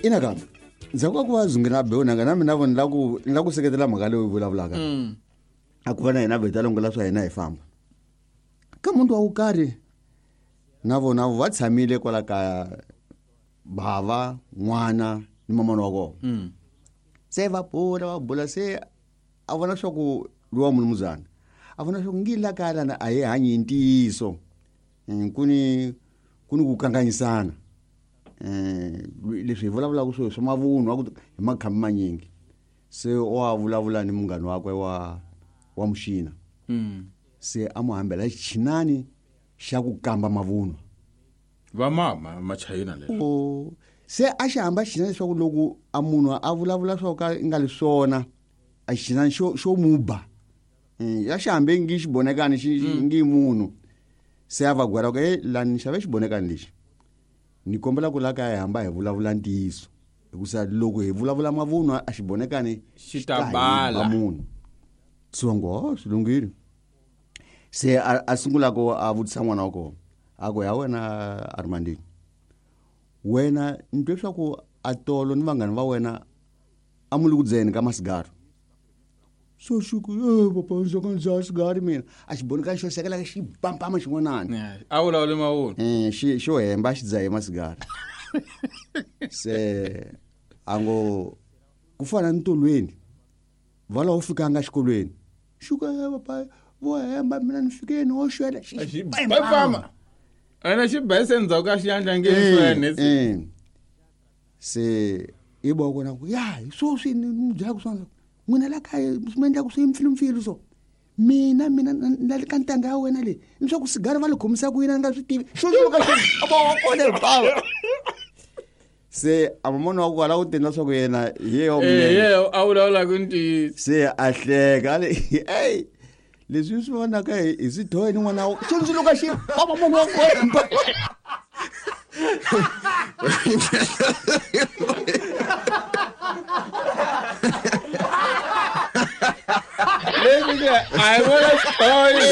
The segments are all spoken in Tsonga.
Ina ka ndzhaku ka ku va zungina a bewu nanga na mina vo ni la ku ni la ku seketela mhaka leyi u vulavulaka. A ku va na hina vheta longola swa hina hi famba ka muntu wa ku karhi na vona va tshamile kwala kaya, bava n'wana ni mamana wa kona. Se va bula, va bula, se a vona swa ku lowa mulumuzana a vona swa ku ngi la kaya lana a hi hanyi hi ntiyiso. Ku ni ku kanganyisana. Leswi hi vulavulaka swo swa mavunwa ku hi makhambi manyingi. Se wa vulavula ni munghana wakwe wa muxina. Se a mu hambela xichinani xa ku kamba mavunwa. Va mama machayina leswi. O, se a xi hamba xichinani leswaku loko a munhu a vulavula swo ka nga li swona, a xichinani xo muba. Ya xi hambe ngi xibonekani xi ngi munhu. Se a va gwela ku, hey, la ni xave xibonekani lexi. Ni kombela ku la kaya hi hamba hi vulavula ntiyiso. Hikusa loko hi vulavula mavunwa a xibonekani xi ta bala munhu. Tsongo, oh, swi lunghile. Se a sungula ku a vutisa n'wana wa kona. A ku, ya wena Armandini, wena ni twe swa ku a tolo ni vanghana va wena a mu le ku dzeni ka masigari. So xi ku, papa, ndzi ka ndzi dzaha sigari mina. A xi boneka xo sekela xi pampama xin'wanana. Yeah, a vulavuli mavunwa. Xo hemba xi dzahe masigari. Se a ngo ku fana ni tolweni va laha u fikanga exikolweni. Xi ku, papa, vo hemba mina ni fike ni wo xwela. Xi Xi pampama. Ene xi ba se ndzhaku ka xiyandla nge swene. Se i bo kona ku ya hi swoswi ni mu byela ku swona. N'wina la kaya swi mi endla ku swi mpfilumpfilu so. Mina, mina, na, na le ka ntanga ya wena leyi, ni swa ku sigari va li khomisa ku yini a ni nga swi tivi. Xo swi ka xo, a va wa kona hi bava. Se a mamona wa ku ala ku tendla swa ku yena hi yena wa munene. Yena a vulavula ku ntiyiso. Se a hleka, a ri, ey, leswi swi vonaka hi swi dyohe ni n'wana wa xo ndzi luka xi ba mamona wa kona. Leswi ke a hi vona xitori.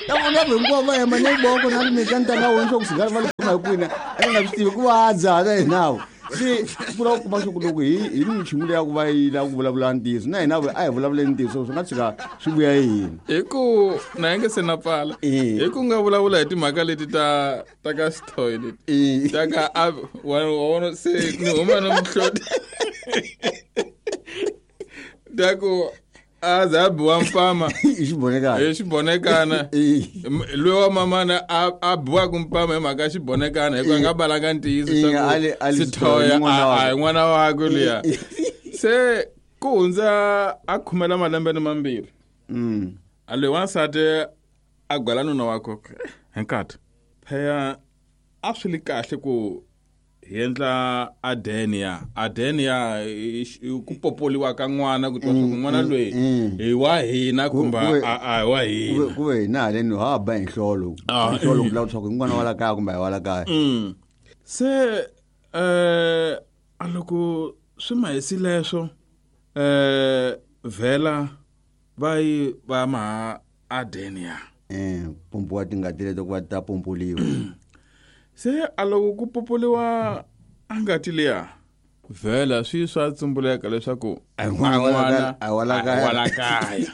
Ta vona vanhu hinkwavo va hemba ni voko na mi ka ntanga wa wena swa ku sigari va li kuma hi kwini, a nga swi tivi ku va dzaha na hina vo. Se ku lava ku kuma swa ku loko hi ni nchumu leyi ya ku va yi lava ku vulavula ntiyiso, na hina a hi vulavuleni ntiyiso, swi nga tshuka swi vuya hi hina. Hi ku na hi nge se na pfala. Hi ku nga vulavula hi timhaka leti ta ka xithoyi leti. Ta ka a, wa, wa vona se ni huma ni muhloti. Ta ku a za a biwa mpama. Hi xibonekana. Hi xibonekana. Loyi wa mamana a biwaka mpama hi mhaka ya xibonekana, hikuva a nga balanga ntiyiso swa ku A li Sithoya, Sithoya, n'wana a wakwe. hi n'wana wakwe luya. Se ku hundza a khumela malembe ni mambirhi. A loyi wansati a gwela nuna wakwe ku, hi nkata. Phela a swi li kahle ku hi endla adenia. Adenia i ku popoliwa ka n'wana, ku twa swa ku n'wana loyi hi wa hina kumbe a hi wa hina. Ku ve hina haleni ha ba hi nhlolo. Hi nhlolo ku vula leswaku i n'wana wa la kaya kumbe a hi wa la kaya. Se, a loko swi ma hisi leswo, vhela va yi va ma adenia. Pompiwa tingati leto ku va ta pompoliwa. Se a loko ku popoliwa a ngati liya, vhela swi swa tsumbuleka leswaku A hi n'wana wa la kaya, a hi wa la kaya. a hi wa la kaya.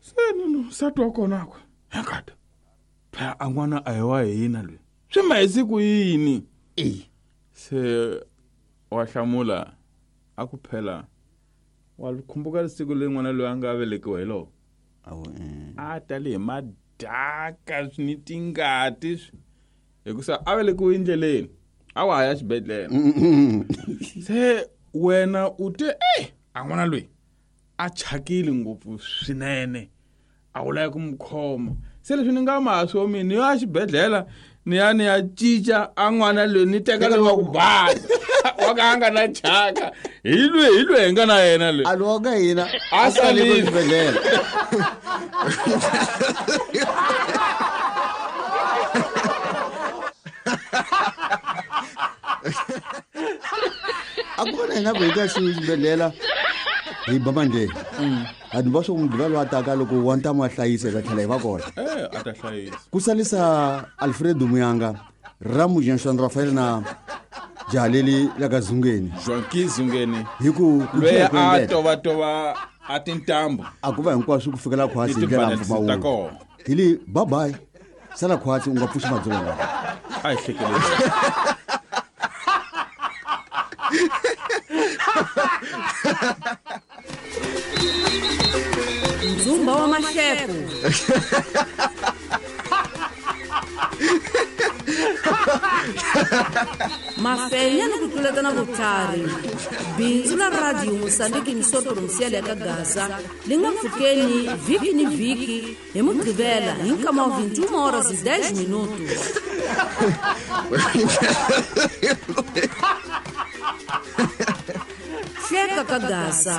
Se nunu nsati wa kona ku, he nkata, phela a n'wana a hi wa hina loyi. Swi ma hisi ku yini? Se wa hlamula a ku phela wa khumbuka siku leri n'wana loyi a nga velekiwa hi loko. Awu. A tale hi madaka ni tingati swi. Hikusa a velekiwe endleleni, a wa ha ya xibedhlele. Se wena u te, ey, a n'wana loyi a chakile ngopfu swinene, a wu lavi ku n'wi khoma. Se leswi ni nga ma swo mina ni ya xibedhlele, ni ya ni ya cinca a n'wana loyi ni teka loyi wa ku basa. Wa ka a nga na chaka. Hi loyi, hi loyi hi nga na yena loyi. A lowa ka hina, A a sale salile. xibedhlele. A ku va na hina ku hi ta xibedhlele hi ba mandleni. A ni va swo mugqivela lowu a taka loko wa ntamu a hlayisa, hi ta tlhela hi va kona. A ta hlayisa. Ku salisa Alfredo Muyanga, Ramu Jean Rafael na Jaha leli la ka Zungeni. Joaquin Zungeni. Hi ku ku Loyi tlhela ku a endleka. tovatova a tintambu. A ku va hinkwaswo ku fikela khwatsi hi Ni ndlela ya tibalance ta mpfumawulo. kona. Hi li bye bye. Sala khwatsi u nga pfuxi madzolonga. A hi hlekeleni. Ndzumba wa mahleko. Mafenya ni ku tluletana vutlhari. Bindzu la Radio Mozambique emissora provincial ya ka Gaza li nga pfukeni vhiki ni vhiki hi Mugqivela hi nkama wa 21 horas e 10 minutos. Hleka ka Gaza.